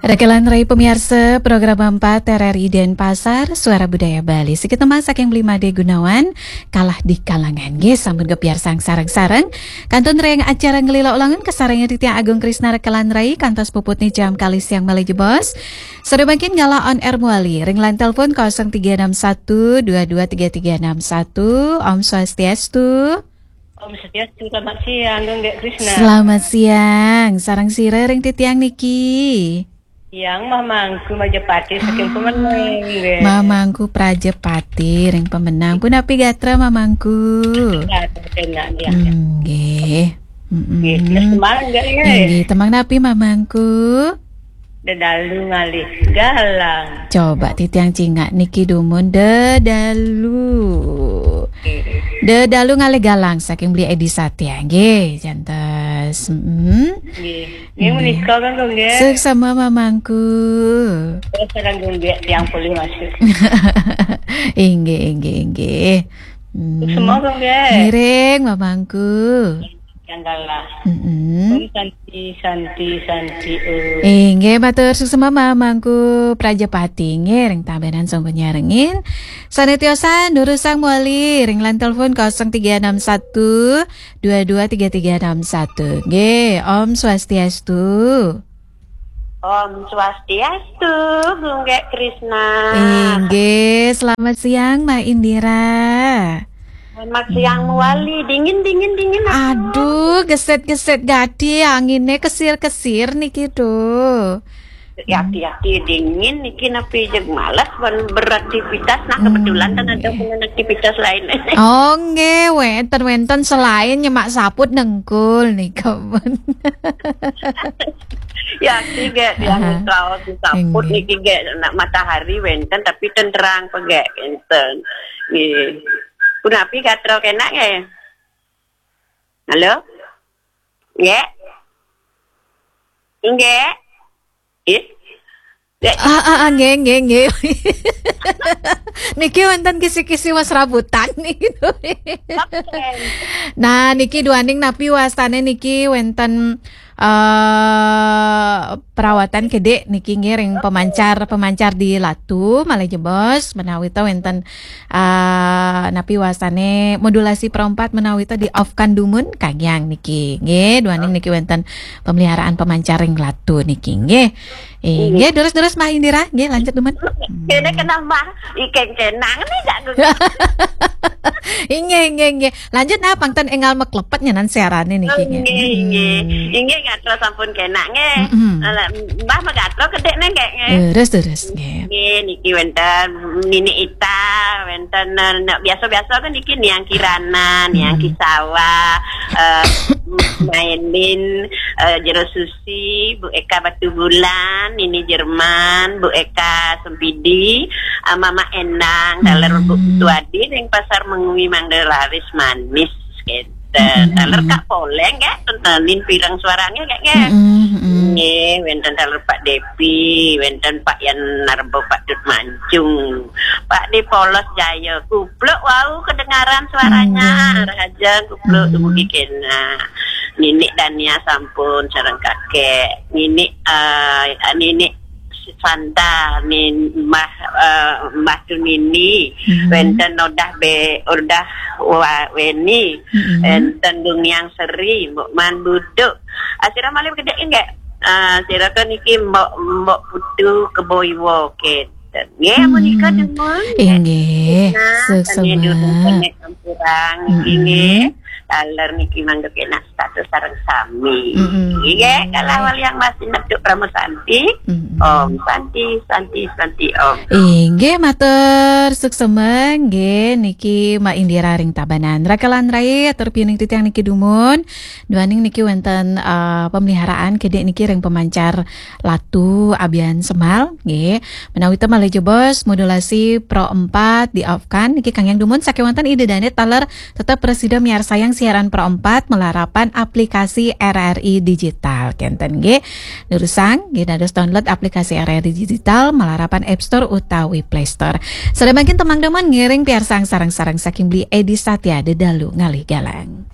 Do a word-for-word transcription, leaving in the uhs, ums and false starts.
Rekelan rai pemiarsa program empat R R I Denpasar, Suara Budaya Bali. Sikit temang saking Bli Made Gunawan, Kalah di Kalangan. Nggih, sampun kepiarsang sareng-sareng. Kantun ring acara ngelila ulangan kasarengin titiang Agung Krisna rekelan rai, kantos puputne jam kalih siang malih jebos. Sada mangkin galah on air mawali ring line telepon kosong tiga enam satu dua dua tiga tiga enam satu. Om Swastiastu. Om Swastiastu, selamat siang, Gung Gek Krisna. Selamat siang, sareng sira ring titiang niki? Yang Mamangku Majapati saking Pemenang, nggih. Mamangku Prajapati ring Pemenang. Punapi gatra Mamangku? Gatra, enak, ya. Hmm, nggih. Mm-mm. Nggih, terus semangat, nggih. Nggih, temang napi Mamangku? Dedalu ngalih galang. Coba titiang cingak niki dumun dedalu. Nggih. Dedalu ngalih galang saking Beli Edi Satya. Nggih, jantos. Mm-mm. Nggih. Nggih, nggih. Menika kan, Gung, nggih. Suksma Mamangku. Terus sekarang, Gung, nggih, tiang polih masuk. Inggih, inggih, inggih. Hmm. Suksma, Gung, nggih. Ngiring, Mamangku. Yang galah. Mm-mm. Om Santi, Santi, Santi, Om. Inggih, matur suksma Mamangku Prajapati, nggih, ring Tabanan sampun nyarengin. Sane tiosan, durusang mawali ring line telepon kosong tiga enam satu dua dua tiga tiga enam satu. Nggih, Om Swastiastu. Om Swastiastu, Gung Gek Krisna. Inggih, selamat siang, Mbak Indira. Selamat siang, hmm, mawali. Dingin, dingin, dingin, aduh. Aduh, geset-geset gati, angine kesir-kesir niki, duh. Ya, hmm, hati-hati, dingin niki, napi jeg males ban beraktivitas. Nah, kebetulan, hmm, kan ada, nggih, pun aktivitas lain. Oh, nggih, wenten, wenten selain nyemak saput nengkul nika pun. Ya, tiga tiang, aha, raos saput, nggih, niki, nggih, nak matahari wenten, tapi ten terang pegek wenten. Nggih. Punapi gatra kenak, nggih? Halo? Nggih? Nggih? Ih? Nggih? Ah, ah, ah, nggih, nggih, nggih. Niki wenten kisi-kisi was rabutan niki. Oke. Nah, niki duaning napi wastane niki wenten, eh, perawatan kedek niki nggih ring, oke, pemancar, pemancar di latu, malih jebos, menawi ta wenten, eh, napi wastane modulasi perompat menawi ta di off-kan dumun, kanggiang niki. Nggih, duaning niki wenten pemeliharaan pemancar ring latu niki nggih. Eh, nggih, durus-durus Mbah Indira, nggih, lanjut dumun. Kene kenal Mbah, ikeng kenang nih, jak gung. Inggih, inggih, inggih. Lanjut nah, pang ten enggal maklepet nyanan siarane niki, nggih. Nggih, nggih. Hmm. Inggih, gatra sampun kenak, nggih. Mm-mm. Alah, Mbah magatra kedek neh, nggih, nggih. Terus, terus, nggih. Nggih, niki wenten Nini Ita, wenten, eh, nek biasa-biasa kan niki Niang Kirana, Niang, mm-mm, Kisawa, eh, Mailin, eh, Jero Susi, Bu Eka Batubulan, Nini Jerman, Bu Eka Sempidi, eh, Mama Endang, taler Bu, mm, Tuadi ring Pasar Mengwi mangda laris manis, kenten. Mm-mm. Taler Kak Poleng, nggih, ten nin pireng suarane, nggih, nggih. Mm-mm, mm-mm. Nggih, wenten taler Pak Depi, wenten Pak Yan Narba, Pak Dut Mancung, Pak Di Polos Jaya, kupluk wau kedengaran suaranya, mm, Raja, kupluk, mm, dumugi kena. Ninik Dania sampun sareng kakek. Ninik, eh, Ninik Santa, Nin-, Mbah, eh, Mbah Tunini, mm-hmm, wenten Odah Be-, Odah Wa-, Weni, mm-hmm, wenten Dungiang Seri, Mbok Man Buduk. Ah, sira malih kedek nggih? Ah, sira ke niki Mbok, Mbok Putu Keboiwo, kenten. Nggih, amun nika, hmm, dumun, nggih. Inggih, nah, suksma. Tanya dulu, tanya sampurang, mm-mm, nggih. Taler niki mangda kenak status sareng sami. Mm-mm. Nggih, kalau waliang masih meduk Rama Santi, mm-mm, Om Santi, Santi, Santi, Om. Inggih, matur suksma, nggih, niki Mbak Indira ring Tabanan. Rekelan rai, atur piuning titiang niki dumun. Duaning niki wenten, eh, pemeliharaan kedek niki ring pemancar latu abian semal, nggih. Menawi ta malih jebos modulasi Pro empat di off-kan, niki kanggiang dumun sakewanten Ida Dane taler tetep prasida miarsayang siaran Pro empat malarapan aplikasi R R I Digital, kenten nggih. Durusang, nggih, dados download aplikasi R R I Digital malarapan App Store utawi Play Store. Sada mangkin temang dumun ngiring piarsang sareng-sareng saking Beli Edi Satya, Dedalu Ngalih Galang.